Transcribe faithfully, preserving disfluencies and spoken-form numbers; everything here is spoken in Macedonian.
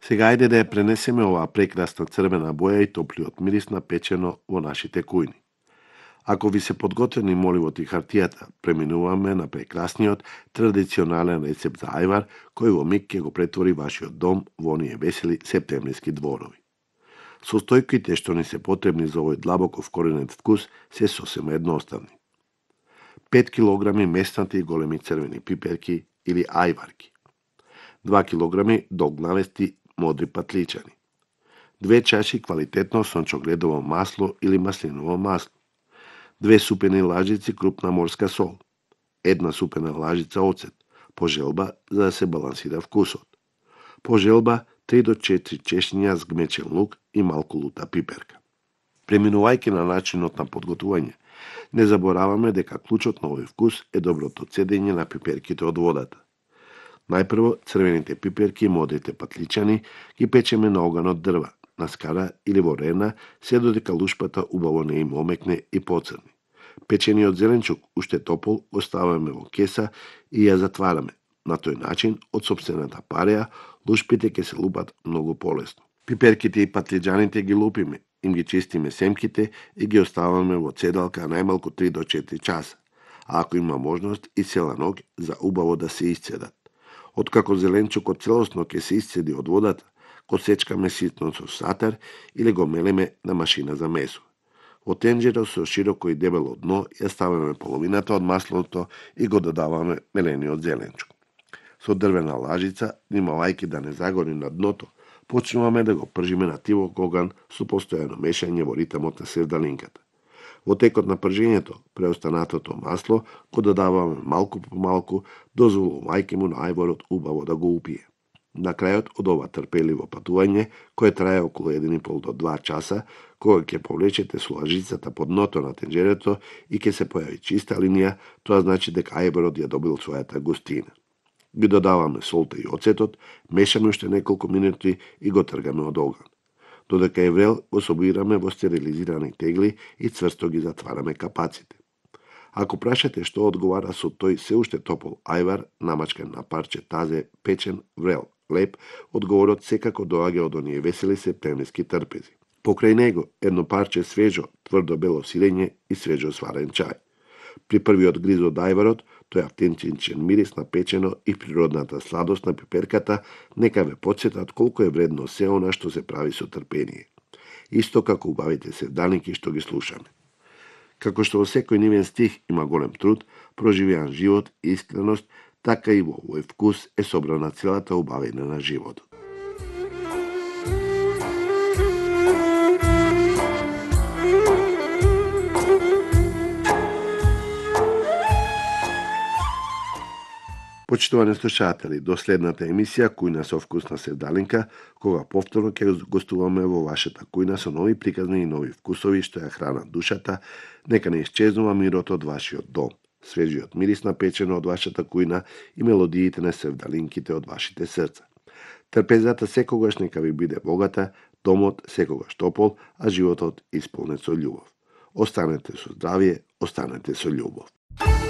Сега ајде да ја пренесеме оваа прекрасна црвена боја и топлиот мирис на печено во нашите кујни. Ако ви се подготвени моливот и хартијата, преминуваме на прекрасниот традиционален рецепт за ајвар, кој во миг ќе го претвори вашиот дом во оние весели септемвриски дворови. Состојките што ни се потребни за овој длабоко вкоренет вкус се сосема едноставни. пет килограми меснати и големи црвени пиперки или ајварки, два килограми долгнавести модри патличани, две чаши квалитетно сончогледово масло или маслиново масло, две супени лажици крупна морска сол, една супена лажица оцет, по желба за да се балансира вкусот, по желба три до четири чешња згмечен лук и малку лута пиперка. Преминувајќи на начинот на подготвување, не забораваме дека клучот на овој вкус е доброто цедење на пиперките од водата. Најпрво црвените пиперки и модрите патличани ги печеме на оган од дрва, на скара или во рена, се додека лушпата убаво не им омекне и поцрни. Печениот зеленчук, уште топол, оставаме во кеса и ја затвараме. На тој начин, од сопствената пареја, лушпите ќе се лупат многу полесно. Пиперките и патлиџаните ги лупиме, им ги чистиме семките и ги оставаме во цедалка најмалку три до четири часа, а ако има можност и цела ноќ за убаво да се исцедат. Откако зеленчукот целосно ќе се исцеди од водата, го сечкаме ситно со сатар или го мелеме на машина за месо. Во тенџеро со широко и дебело дно ја ставаме половината од маслото и го додаваме мелениот зеленчук. Со дрвена лажица, внимавајќи да не загори на дното, почнуваме да го пржиме на тивок оган со постојано мешање во ритмот на севдалинката. Во текот на пржењето, преостанатото масло го додаваме малку по малку, дозволувајќи му на ајворот убаво да го упие. На крајот од ова трпеливо патување, кое трае околу еден и пол до два часа, кога ќе повлечете со лажицата под дното на тенџерето и ќе се појави чиста линија, тоа значи дека ајворот ја добил својата густина. Ги додаваме солта и оцетот, мешаме уште неколку минути и го тргаме од оган. Додека е врел, го собираме во стерилизирани тегли и цврсто ги затвараме капаците. Ако прашате што одговара со тој се уште топол ајвар, намачкан на парче тазе, печен, врел, леп, одговорот секако доаѓа од оние весели септемвриски трпези. Покрај него, едно парче свежо, тврдо бело сирење и свежо сварен чај. При првиот гриз од ајварот, тој автентичен мирис на печено и природната сладост на пиперката нека ве потсетат колку е вредно се она што се прави со трпение. Исто како убавите севдалинки што ги слушаме. Како што во секој нивен стих има голем труд, проживеан живот и искреност, така и во овој вкус е собрана целата убавина на животот. Почитувани слушатели, до следната емисија Кујна со вкус на севдалинка, кога повторно ќе гостуваме во вашата кујна со нови приказни и нови вкусови што ја хранат душата, нека не исчезнува мирот од вашиот дом, свежиот мирис на печено од вашата кујна и мелодиите на севдалинките од вашите срца. Трпезата секогаш нека ви биде богата, домот секогаш топол, а животот исполнет со љубов. Останете со здравје, останете со љубов.